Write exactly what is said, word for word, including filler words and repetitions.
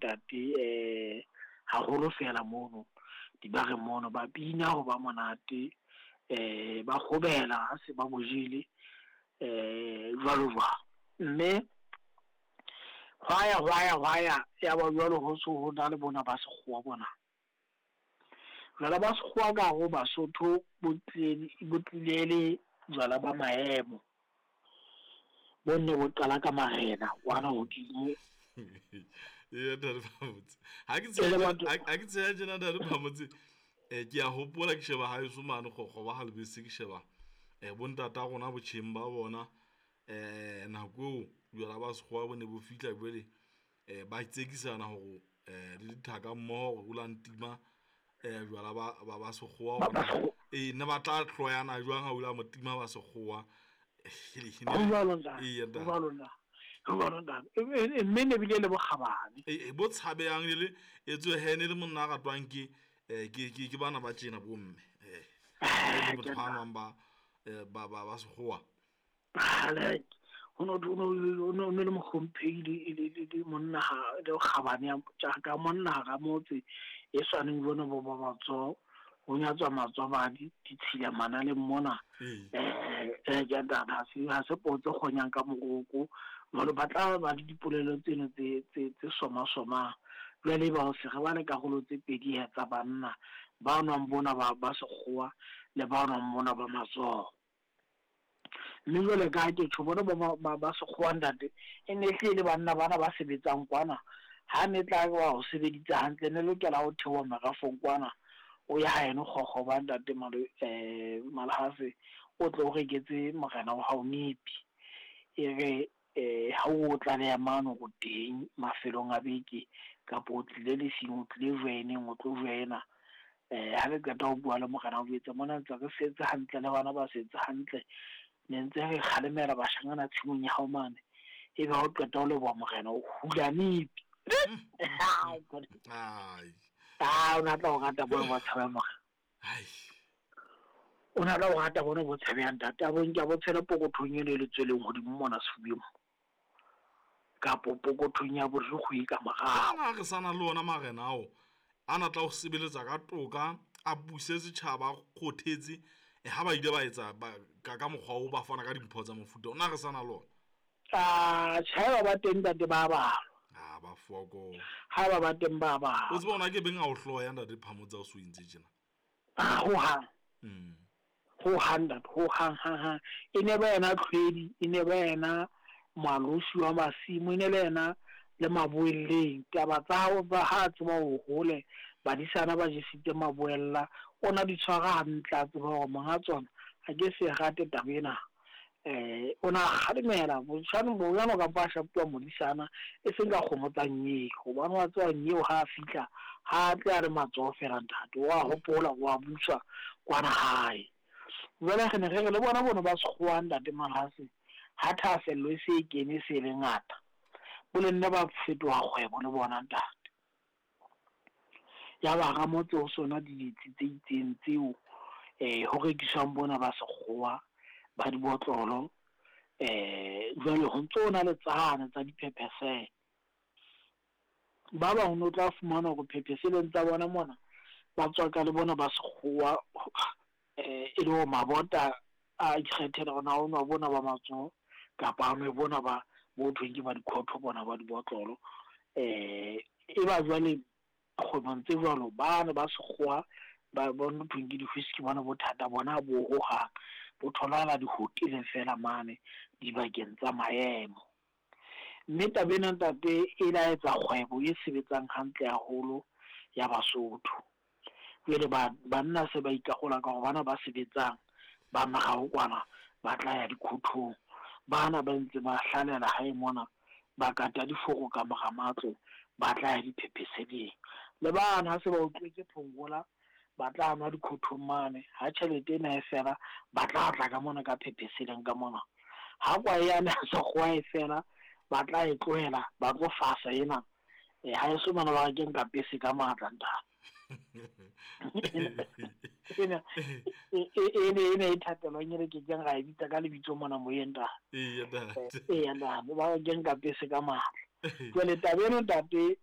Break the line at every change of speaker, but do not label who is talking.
ntate eh haholo fela mono dibareng mono ba bina ho ba monate eh ba kgobela ha se ba bojele eh jwalo jwalo. Mme hwaya hwaya hwaya ya ba jwalo ho so ho na le bona ba sekgowa bona. Jwala ba sekgowa ka ho Basotho bo tlile bo tlile le jwala ba maemo. Bo nne bo qala ka marena kwana hodimo.
Eya ntate Phamotse. Ha ke
E le
tsheha
batho
ha ke tsheha tjena ntate Phamotse, eh ke a hopola ke sheba haeso mane kgokgo ba ha lebese ke sheba eh bo ntata rona botjheng ba bona eh nako eo jwala ba sekgowa bo ne bo fihla jwale eh ba tsekisana hore eh le dithaka mmoho hore o la ntima eh jwala ba ba ba sekgowa
ba ba
hore
sekgowa.
eh ne ba tla hloyana jwang ha o la mo tima ba sekgowa.
Ho jwalo ntate,
Eya
ho
ntate.
jwalo ntate, ho jwalo ntate. E e mme ne bile le bokgabane.
E bo tshabehang e le etswe he ne le monna a ratwang ke eh ke ke ke bana ba tjena bo mme. Eh ha e le
Ke
motho a
ntate.
nwang ba eh ba ba ba sekgowa.
Kgalek ho no ho no le mohlomphehi le le le le monna ha le kgabane ya ka monna hara motse e swaneng jwalo bo ba matsoho. Ho nyatswa matswabadi ditshila manaleng mona.
Ee.
Eh eh ke ntate ha se ha se potse kgonyang ka moroko. Jwale ba tla ba le dipolelo tseno tse tse tse soma somang. Jwale ba o se re ba le karolo tse pedi he tsa banna ba nwang bona ba ba sekgowa le ba nwang mona ba matsoho. Mme jwale ka ha ke tjho bona ba ba ba sekgowa ntate e ne hle le banna bana ba sebetsang kwana. Ha ne tla wa ho sebeditse hantle ne lokela ho theoha merafong kwana. O ya haeno kgokgo ba ntate malo eh Malhase o tlo o reketse morena wa hao nipi. E re eh ha o tlaleha mano go teng mafelong a beke kapa o tlile lesing o tlile joineng o tlo joina. Eh ha le qeta ho bua le morena o jwetse mona ntse re setse hantle le bana ba setse hantle. Ne ntse re kgalemela bashanyana tshimong ya hao mane. Ebe ha o qeta ho leboha morena o hula nipi.
Ai.
Ah, o na tla o rata bona bo tshabang morena.
Ai.
O na tla o rata bona bo tshabehang ntate. A bo nke a bo tshele pokothong eno e le tsweleng hodimo mona sefubeng. Kapo pokothong ya borikgwe ka morao.
Ana re sana le ona marena ao a na tla ho sebeletsa ka toka a buse setjhaba a kgothetse eh ha ba ile ba etsa ba ka ka mokgwa o ba fana ka dimpho tsa mofuta ona re sana le ona.
Ah, tjhe ba teng ntate ba balwa.
Ah ba foko.
Ha ba ba teng ba balwa.
O tseba ona ke beng a o hloya ntate Phamotse o so entse tjena.
Ah, ho hang.
Mm.
Ho hang ntate, ho hang hang hang. E ne ba yena tlhwedi, e ne ba yena malosi wa masimo, e ne le yena le maboelleng. Taba tsa hao ba ha tseba ho hole badisana ba jesitse maboella, o na di tshwara hantle a tseba hore monga tsona ha ke se rate taba ena. Eh o na kgalemela botjhano bojano kapa a shapuwa modisana e seng ka kgomo tsa nyeo hobane wa tseba nyeo ha a fihla ha tle a re matsoho fela ntate wa hopola wa buswa kwana hae. Jwale re ne re re le bona bona ba sekgowa ntate Malhase ha thahasello e se e kene e se le ngata bo le nna ba fetoha kgwebo le bona ntate. Ya ba ramotse ho sona ditsi tse itseng tseo eh ho rekiswang bona ba sekgowa ba dibotlolo eh jwale ho ntso na le tsana tsa diphephese. Ba bang o tla fumana hore phepheseleng tsa bona mona ba tswaka le bona ba sekgowa eh e le ho mabota a ikgethela hore na o nwa bona ba matsoho kapa a nwe bona ba bo thweng ke ba dikhotho bona ba dibotlolo. Eh e ba jwale kgwebong tse jwalo bana ba sekgowa ba bona thweng ke di-whisky bona bothata bona bo hohang bo tholahala dihoteleng fela mane dibakeng tsa maemo. Mme taba ena ntate e la etsa kgwebo e sebetsang hantle haholo ya Basotho. Jwale ba banna se ba ikarola ka hore bana ba sebetsang ba morao kwana ba tla ya dikhothong, bana ba ntse ba hlalela hae mona ba kata diforo ka mora matlo ba tla ya diphepheseleng. Le bana ha se ba utlwetse phongola ba tla nwa dikhothong mane ha tjhelete ena e fela ba tla tla ka mona ka phepheseleng ka mona. Ha kwae yane ha sekgowa e fela ba tla e tlohela ba tlo fasa ena. Eh ha eso bana ba keng ka pese ka matla ntate. Ena e e e e thapelwang e re ke keng ra e bitsa ka lebitso mona moyeng ntate.
Eya ntate.
Eya ntate ba keng ka pese ka matla. Jwale taba ena ntate